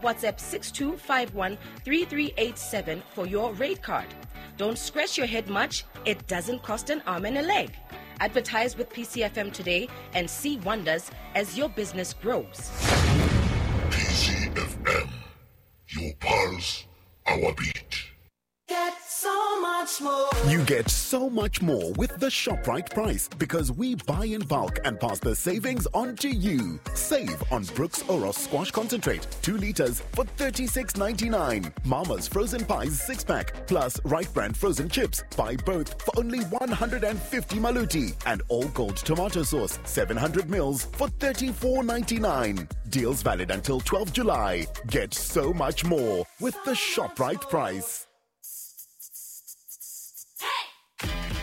WhatsApp 6251 3387 for your rate card. Don't scratch your head much, it doesn't cost an arm and a leg. Advertise with PCFM today and see wonders as your business grows. PCFM, your pulse, our beat. Get so much more. You get so much more with the ShopRite price because we buy in bulk and pass the savings on to you. Save on Brooks Oros Squash Concentrate, 2 liters for $36.99. Mama's Frozen Pies 6 pack plus Right Brand Frozen Chips. Buy both for only 150 Maluti. And All Gold Tomato Sauce, 700 mils for $34.99. Deals valid until 12 July. Get so much more with the ShopRite price.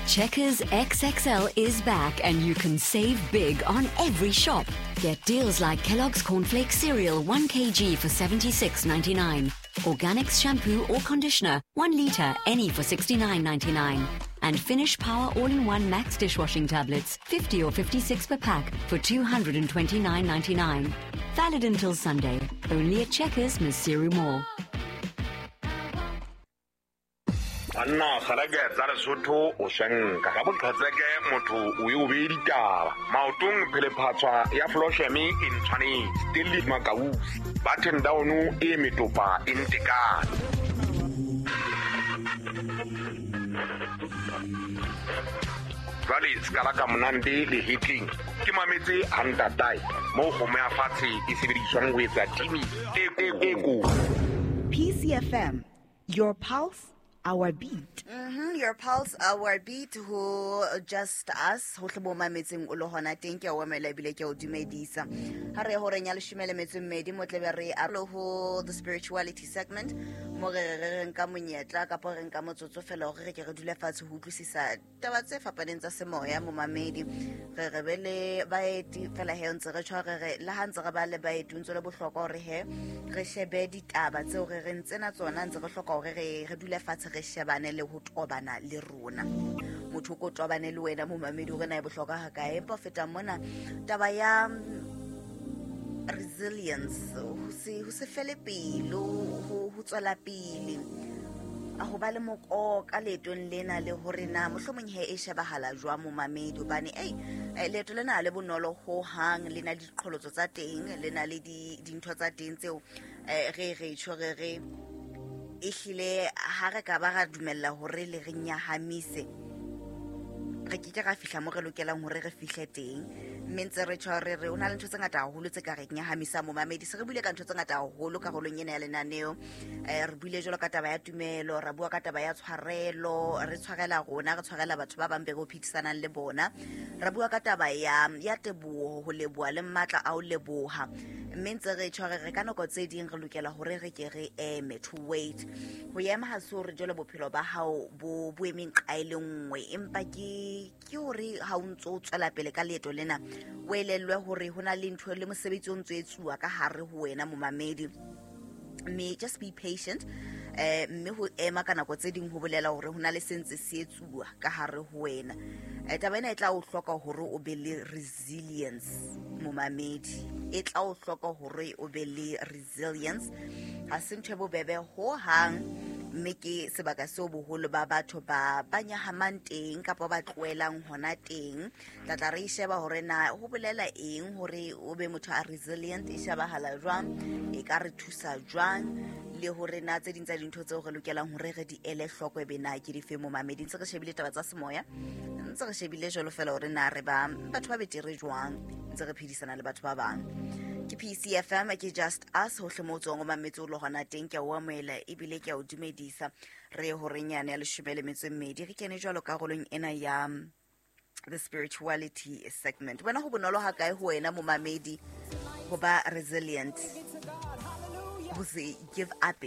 Checkers XXL is back and you can save big on every shop. Get deals like Kellogg's Cornflakes cereal 1 kg for 76.99, Organics shampoo or conditioner 1 liter any for 69.99, and Finish Power All-in-One Max dishwashing tablets 50 or 56 per pack for 229.99. Valid until Sunday. Only at Checkers, Maseru Mall. Banna kgalake tsa Lesotho o swenka ka boqhetseke motho o e o bee ditaba maotong phelephatswa ya flosheme e ntshwanetse Stanley Makausi button down e metopa e ntekane jwale sekala ka monande le hitling ke mametse hantatae moo kgomo ya fatshe e sebediswang ho etsa timi e ko. PCFM, your pulse, our beat. Your pulse, our beat, ho just us ho tle bo mametseng o le hona teng ke o emela ebile ke o dumedisa. Ha re horeng ya leshome le metso e mmedi mo tlebe re aro ho the spirituality segment mo re re nka monyetla kapa re nka motsotso fela hore re ke re dule fatshe ho utlwisisa taba tse fapaneng tsa semoya mo mamedi. Re re be le baeti fela he ntse re tshware re le ha ntse re ba le baeti ntse le bohlokwa hore he re shebe ditaba tseo re re ntsena tsona ntse re hloka hore re dule fatshe re shebane le ho tobana le rona. Motho ko tobane le wena momamedi hore na e bohlokwa ha kae. Empa feta mona taba ya resilience, ho se fele pelo, ho tswela pele, a ho ba le mokoka leetong lena le hore na mohlomong he e shebahala jwang momamedi, hobane leeto lena le bonolo ho hang, le na le diqholotso tsa teng, le na le dintho tsa teng tseo re re tjho re re ehlile ha re ka ba ra dumella hore le re nyahamise, re ke ke ra fihla mo re lokelang hore re fihle teng. Mme ntse re tjho re re o na le ntho tse ngata haholo tse ka re nyahamisa momamedi. Se re buile ka ntho tse ngata haholo karolong ena ya lenaneo. Re buile jwalo ka taba ya tumelo, ra bua ka taba ya tshwarelo, re tshwarela rona, re tshwarela batho ba bang be re phedisanang le bona. Ra bua ka taba ya teboho, ho leboha le matla a ho leboha. Mme ntse re tjho re re ka nako tse ding re lokela hore re ke re eme, to wait. Ho ema ha se hore jwale bophelo ba hao bo emeng qa e le nngwe, empa ke hore ha o ntso tswela pele ka leeto lena o elellwe hore ho na le ntho le mosebetsi o ntso etsuwa ka hare ho wena momamedi. Mme just be patient. Mme ho ema ka nako tse ding ho bolela hore ho na le sentse se etsuwa ka hare ho wena. Taba ena e tla o hloka hore o be le resilience momamedi, e tla o hloka hore o be le resilience. Ha se ntho e bobebe ho hang, mme ke sebaka seo boholo ba batho ba nyahamang teng kapa ba tlohelang hona teng. Tla tla re sheba hore na ho bolela eng hore o be motho a resilient, e shebahala jwang, e ka re thusa jwang, le hore na tse ding tsa dintho tseo re lokelang hore re di ele hloko e be na ke dife momamedi. Ntse re shebile taba tsa semoya, ntse re shebile jwalo fela hore na re ba batho ba betere jwang, ntse re phedisana le batho ba bang. Ke PCFM, ke just us hohle mo tswang o mametse o le hona teng. Ke a o amohela ebile ke a o dumedisa. Re horeng yane ya leshome le metso e mmedi re kene jwalo karolong ena ya the spirituality segment. Wena ho bonolo ha kae ho wena momamedi ho ba resilient, ho se give up,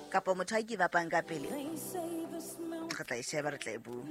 kapa motho a give upang ka pele? Re tla e sheba, re tla e bua.